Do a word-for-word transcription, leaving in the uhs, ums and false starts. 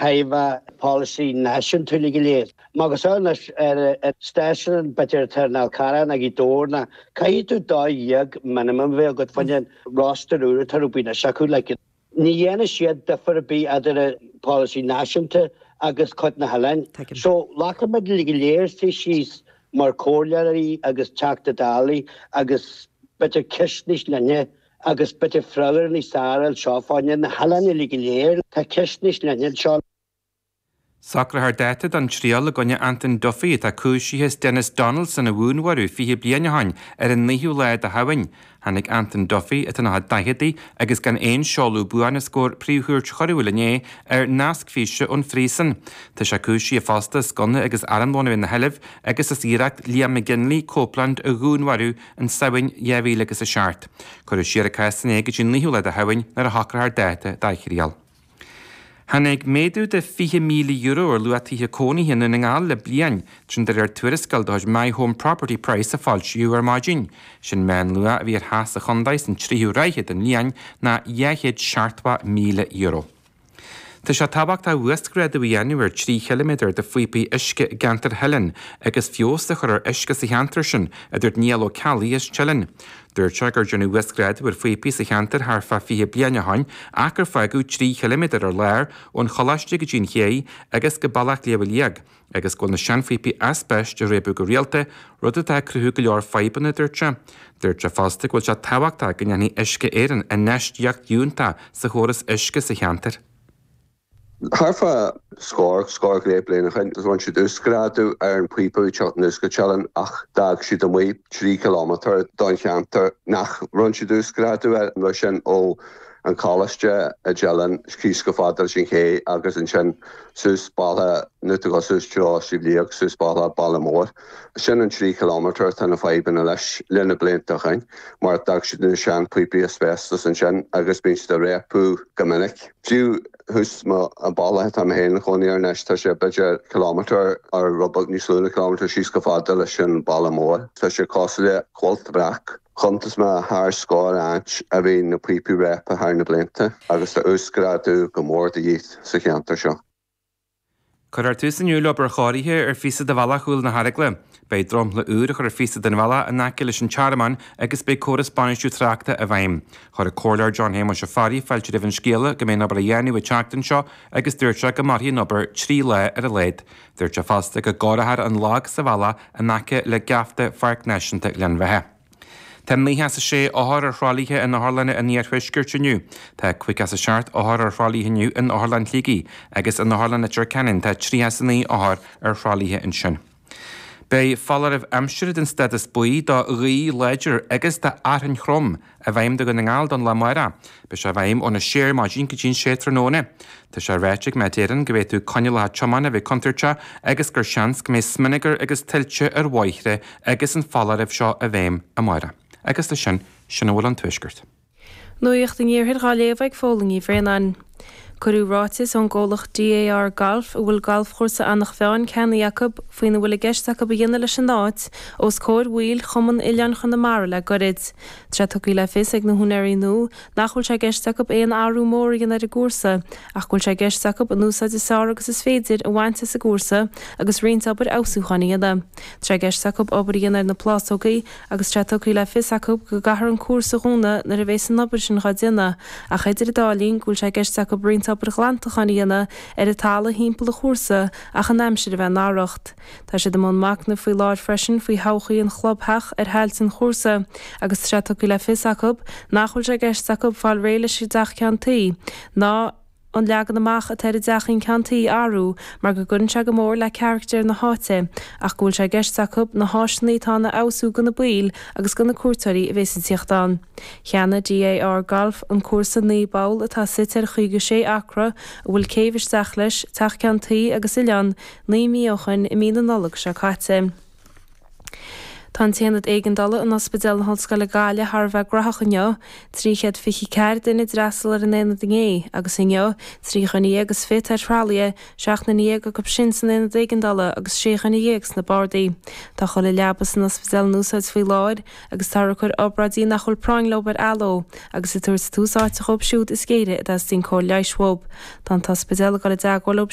thaobh polasaí náisiúnta go léir. Magus anois ar ar stáisiún b'fhéidir atá ar Fhál Carrach nó Gaoth Dobhair ná caithfidh tú dó dhéag minimum bheith agat fá choinne roster úr atá rúibín acu like ní dhéanann siad difear ar bith idir an polasaí náisiúnta agus cuid na hoileáin. So glacaimid go léir síos mar chomhairleoirí agus Teachtaí Dála agus b'fhéidir ceist níos linne agus b'fhéidir freagra níos fearr seo fá choinne na hoileáin go léir tá ceist níos linne seo. Socrófar dáta don triail i gcoinne Anton Duffy atá cúisithe as Denis Donaldson a dhúnmharú fiche bliain ó shin ar an naoú lá de Shamhain. Tháinig Anton Duffy atá ina daicheadaí agus gan aon seoladh buan os comhair Príomhchúirt Choiriúil inné ar nasc físe ón phríosún. Tá sé cúisithe fosta as gunna agus armlón ina sheilbh agus as iarracht Liam McGinley Copeland a dhúnmharú in Samhain dhá mhíle agus a seacht. Cuireadh siar an cás inné go dtí an naoú lá de Shamhain nuair a shocrófar dáta dá thriail. Tháinig méadú de fiche míle euro ar luach tithe cónaithe i nDún na nGall le bliain, sin de réir tuarascáil de chuid My Home Property Price a foilsíodh ar maidin. Sin meánluach a bhí ar theach sa chontae san tríú ráithe den bhliain ná dhá chéad seachtó míle euro. Tá sé tábhachtach uasghrádú a dhéanamh ar trí chiliméadar de phíopaí uisce i gceantar Theileann agus feabhas a chur ar uisce sa cheantar sin, a dúirt Niall Ó Ceallaigh as Teileann. Dúirt sé gur déanadh uasghrádú ar phíopaí sa cheantar thart fá fiche bliain ó shin ach gur fágadh trí chiliméadar ar lár ón choláiste go dtí an ché agus go Bealach Shliabh Liag, agus go bhfuil na seanphíopaí aispeist ag réabadh go rialta, rud atá ag cruthú go leor fadhbanna, dúirt sé. Dúirt sé fosta go bhfuil sé tábhachtach go ndéanfaidh Uisce Éireann infheistíocht fhiúntach sa chóras uisce sa cheantar. Thart fá scór scór go leith bliain ó shin, rinne siad uasghrádú ar an phíopa teacht anuas go Teileann ach d'fhág siad amuigh trí kilometer don cheantar nach rinne siad uasghrádú air an sin ó an choláiste i dTeileann síos go fada leis an ché agus ansin suas baile nu go suas treo Sliabh Liag suas baile Baile Mór. Sin an trí kilometer tá na fadhbanna leis le na blianta ó shin, mar d'fhág siad na seanphíopaí asbestos ansin agus bíonn siad ag réabadh go minic. Fiú thuas an baile atá mé féin i mo chónaí anois tá sé b'fhéidir kilometer ar rud beag níos lú ná kilometer síos go fada leis an baile mór. Tá sé cosúil le cuilt bhreac. Chuntas mé thar scór áit a bhí na píopaí réabtha thar na blianta agus tá uasghrádú go mór de dhíth sa cheantar seo. Cuirfear tús inniu le obair chóirithe ar phíosa de bhealach Chúil na hEaragla. Beidh dromchla úr á chur ar phíosa den bhealach in aice leis an tearmann agus beidh córas bainistiú tráchta i bhfeidhm. Chuir an Comhairleoir John Shéamuis Ó Fearraigh fáilte roimh an scéala go mbeidh an obair á dhéanamh an tseachtain seo agus dúirt sé go mairfidh an obair trí lá ar a laghad. Dúirt sé fosta go gcóireofar an lag sa bhealach in aice le geafta Pháirc Náisiúnta Ghleann Bheatha. Tá naocha is a sé othar ar thralaithe in otharlanna an iarthuaiscirt inniu. Tá caoga is a seacht othar ar thralaithe inniu in Otharlann Shligigh agus in Otharlann Leitir Ceanainn tá tríocha is a naoi othar ar thralaithe ansin. Beidh foláireamh aimsire den stádas buí do ghaoth láidir agus do fhearthainn throm i bhfeidhm do Dhún na nGall don lá amárach. Beidh sé i bhfeidhm óna sé ar maidin go dtí an sé tráthnóna. Tá sé ráite ag Met Éireann go bhféadfadh coinníollacha tiomána a bheith contúirteach agus gur seans go mbeidh smionagar agus tuilte ar bhóithre agus an foláireamh seo i bhfeidhm amárach. Agus leis sin, sin a bhfuil ón tuaisceart. Nuacht an Iarthair á léamh ag Fódhla Ní Bhraonáin. Cuireadh ráiteas ón gcomhlacht DAR Golf a bhfuil galfchúrsa Eanach Mheáin ceannaithe acu faoina bhfuil i gceist acu a dhéanamh leis an áit os comhair bhaill Chumann Oileáin Chonamara le gairid. Tá sé tugtha le fios ag na húinéirí nua nach bhfuil sé i gceist acu aon athrú mór a dhéanamh ar an gcúrsa ach go bhfuil sé i gceist acu an úsáid is fearr agus is féidir a bhaint as an gcúrsa agus roinnt obair fheabhsúcháin a dhéanamh. Tá sé i gceist acu obair a dhéanamh ar na plásógaí agus tá sé tugtha le fios acu go gcaithfear an cúrsa a dhúnadh nuair a bheas an obair sin á déanamh ach idir an dá linn go bhfuil sé i gceist acu roinnt obair ghlantacháin a dhéanamh ar an talamh thimpeall an chúrsa ach an aimsir a bheith ina arracht. Tá siad i mbun machnaimh faoi láthair freisin faoi thodhchaí an chlubtheach ar thailte an chúrsa agus tá sé tugtha le fios acu nach bhfuil sé i gceist acu fáil réidh leis an dteach ceann tuí ná an leagan amach atá ar an dteachín ceann tuí a athrú mar go gcuireann sé go mór le carachtar na háite ach go bhfuil sé i gceist acu na háiseanna atá ann a fheabhsú do na baill agus do na cuairteoirí a bheas ag tíocht ann. Cheannaigh DAR Golf an cúrsa naoi bpoll atá suite ar chaoga sé acra a bhfuil céibh isteach leis, teach ceann tuí agus oileán naoi mí ó shin i mí na Nollag seo caite. Tá an t-aonad éigeandála in Ospidéal na hOllscoile Gaillimh thar a bheith gnóthach inniu, trí chéad fiche ceathair duine a d'fhreastail ar an aonad inné, agus inniu, trí dhuine dhéag is fiche ar thralaithe, seacht nduine dhéag acu sin san aonad éigeandála agus sé dhuine dhéag sna bardaí. Tá chuile leaba san ospidéal in úsáid faoi láthair agus táthar ag cur obráidí nach bhfuil práinn leo ar athló agus ag tabhairt tús áite dhóibh siúd is géire a dteastaíonn cóir leighis uathu. Tá an t-ospidéal ag dul i dteagmháil leo